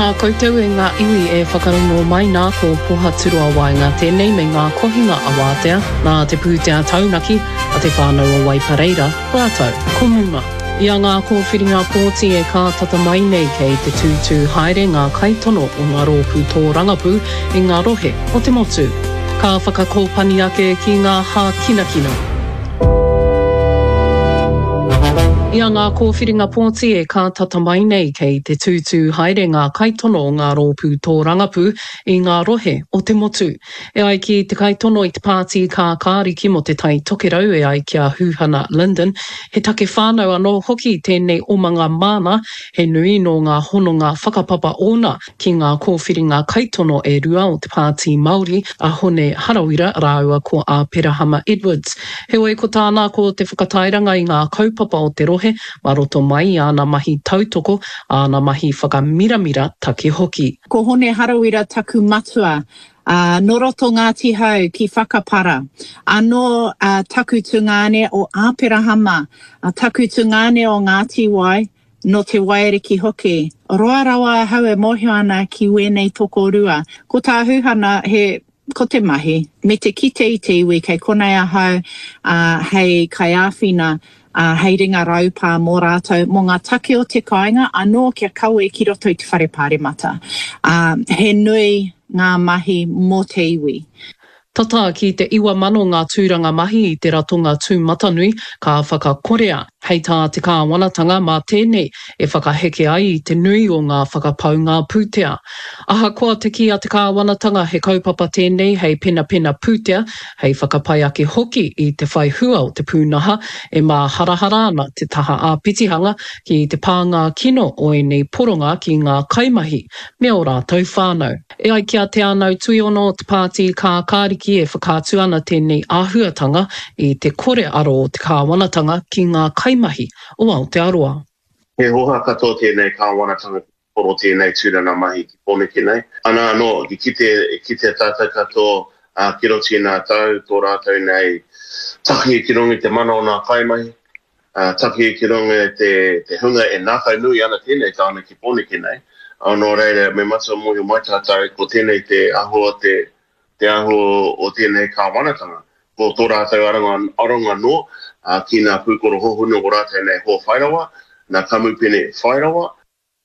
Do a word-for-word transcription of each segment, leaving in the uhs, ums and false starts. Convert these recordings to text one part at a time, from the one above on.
Tēnā koutou e ngā iwi e whakarongo mai nā ko Pohaturoa Waenga tēnei me ngā kohinga awātea nā te pūtea taunaki a te whānau o Waipareira rātou ko Muma. I a ngā kōwhiringa pōti e kātata mai nei kei te tūtū haere ngā kaitono o ngā rōpū tōrangapū i ngā rohe o te motu. Ka whakakōpani ake ki ngā hākinakina. I a ngā kōwhiringa pōti e kātata mai nei kei te tūtū haere ngā kaitono o ngā rōpū tōrangapū i ngā rohe o te motu. E ai ki te kaitono i te pāti kākāriki mō te Tai Tokerau e ai ki a Huhana Lyndon, he take whānau anō hoki tēnei omanga māna, he nui nō ngā hononga whakapapa ōna ki ngā kōwhiringa kaitono e rua o te Pāti Māori, a Hone Harawira rāua ko Āperahama Edwards. Heoi ko tāna ko te whakatairanga i ngā kaupapa o te rohe mā roto mai i āna mahi tautoko, āna mahi whakamiramira take hoki. Ko Hone Harawira taku matua, ā, nō roto Ngāti Hau ki Whakapara. Anō ā, taku tungāne o Āperahama, ā, taku tungāne o Ngāti Wai, nō Te Waiariki hoki. Roa rawa ahau e mōhio ana ki wēnei tokorua. Ko tā Huhana, he, ko te mahi, me te kite i te iwi kei konei ahau, ā, hei kaiāwhina, ā, hei ringa raupā mō rātou, mō ngā take o te kāinga, anō kia kawe ki roto i te whare pāremata. Ā, he nui ngā mahi mō te iwi. Tata ki te iwa mano ngā tūranga mahi i te ratonga tūmatanui ka whakakorea, hei tā te kāwanatanga mā tēnei e whakaheke ai i te nui o ngā whakapaunga pūtea. Ahakoa te kī a te kāwanatanga he kaupapa tēnei hei penapena pūtea, hei whakapai ake hoki i te whai hua o te pūnaha, e māharahara ana te taha āpitihanga ki te pānga kino o ēnei poronga ki ngā kaimahi me ō rātou whānau. E ai ki a Te Anau Tuiono o te Pāti Kākāriki e whakaatu ana tēnei āhuatanga i te kore aro o te kāwanatanga ki ngā kaimahi o Aotearoa. He hoha katoa tēnei kāwanatanga ki te poro tēnei tūranga mahi ki Pōneke nei. Ana anō, i kite, i kitea tātou katoa, ā, ki roto i nā tau, tō rātou nei taki ki runga i te mana o nā kaimahi, ā, taki ki runga i te, te hunga e ngākau nui ana tēnei tāone ki Pōneke nei. Ā, nō reira, me matua mōhio mai tātou, ko tēnei te āhua o te, te āhua o tēnei kāwanatanga. Ko tō rātou aronga, aronga noa, ā, ki nā pūkoro hohonu o rātou nei hoa whairawa, nā kamupene whairawa.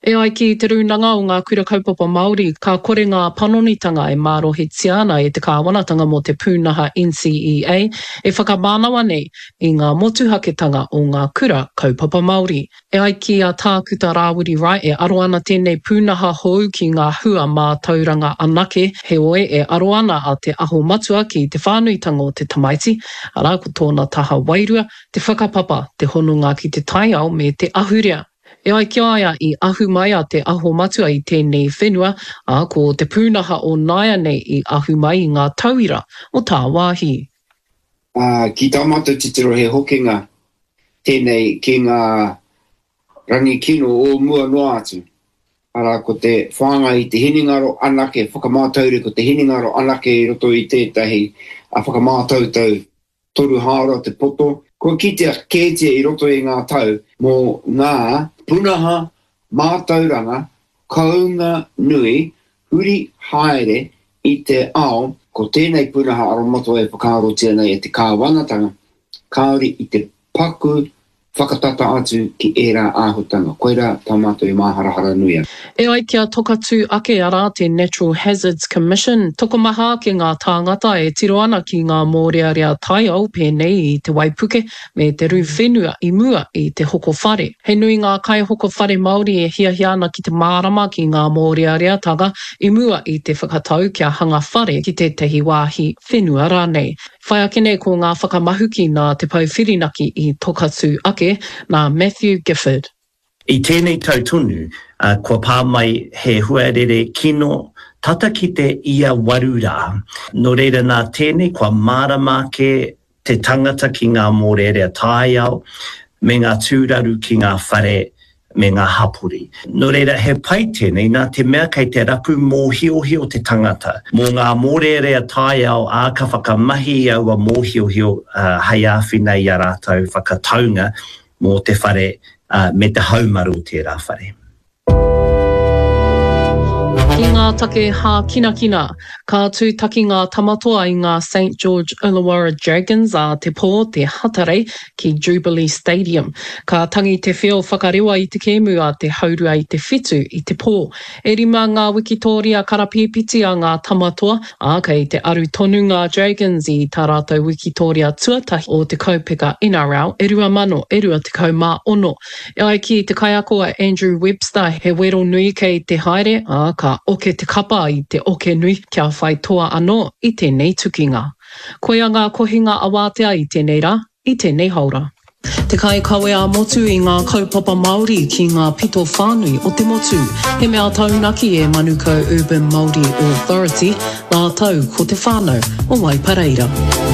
E ai ki Te Rūnanga o Ngā Kura Kaupapa Māori, ka kore ngā panonitanga e mārohitia ana e te kāwanatanga mō te pūnaha NCEA e whakamānawa nei i ngā motuhaketanga o ngā kura kaupapa Māori. E ai ki a Tākuta Rāwiri Wright e aro ana tēnei pūnaha hou ki ngā hua mātauranga anake, heoi e aro ana a Te Aho Matua ki te whānuitanga o te tamaiti, arā ko tōna taha wairua, te whakapapa, te hononga ki te taiao me te ahurea. E ai ki a ia i ahu mai a Te Aho Matua i tēnei whenua, ā, ko te pūnaha o nāianei i ahu mai i ngā tauira o tāwāhi. Ā, ki tā mātou titiro he hokinga tēnei ki ngā rangi kino o mua noa atu, arā, ko te whāngai i te hinengaro anake, whakamātauri ko te hinengaro anake i roto i tētahi whakamātautau toru hāora te poto, kua kitea kētia i roto i ngā tau mō ngā pūnaha mātauranga kounga nui huri haere i te ao, ko tēnei pūnaha aromatawai e whakaarotia nei e te kāwanatanga, kāore i te paku whakatata atu ki ērā āhutanga. Koirā tā mātou i māharahara nui ai. E ai ki a Tokatū ake, arā, te Natural Hazards Commission, tokomaha ake ngā tāngata e tiro ana ki ngā mōrearea taiao pēnei i te waipuke me te rū whenua i mua i te hoko whare. He nui ngā kaihoko whare Māori e hiahia ana ki te mārama ki ngā mōreareatanga i mua i te whakatau kia hanga whare ki tētahi wāhi whenua rānei. Whai ake nei ko ngā whakamahuki nā Te Pou Whirinaki i Tokatū ake, nā Matthew Gifford. I tēnei tau tonu, kua pā mai he huarere kino tata ki te ia waru rā. Nō reira nā tēnei kua mārama ake te tangata ki ngā mōrearea taiao me ngā tūraru ki ngā whare me ngā hapori. Nō reira, he pai tēnei nā te mea kei te rapu mōhiohio te tangata mō ngā mōrearea taiao, ā, ka whakamahi i aua mōhiohio hei āwhina i a rātou whakataunga mō te whare me te haumaru o tērā whare. ngā take hākinakina, ka tūtaki ngā Tamatoa i ngā Saint George Illawarra Dragons ā te pō, te Hatarei, ki Jubilee Stadium. Ka tangi te whio whakarewa i te kēmu a te haurua i te whitu i te pō. E rima ngā wikitōria karapīpiti a ngā Tamatoa, ā, kei te aru tonu ngā Dragons i tā rātou wikitōria tuatahi o te kaupeka NRL e rua mano e rua tekau mā ono. E ai ki te kaiako a Andrew Webster, he wero nui kei te haere, ā, ka oke te kapa i te oke nui kia whai toa anō i tēnei tukinga. Koia ngā kohinga awātea i tēnei rā, i tēnei haora. Te kaikawe ā-motu i ngā kaupapa Māori ki ngā pito whānui o te motu. He mea taunaki e Manukau Urban Māori Authority rātou ko te whānau o Waipareira.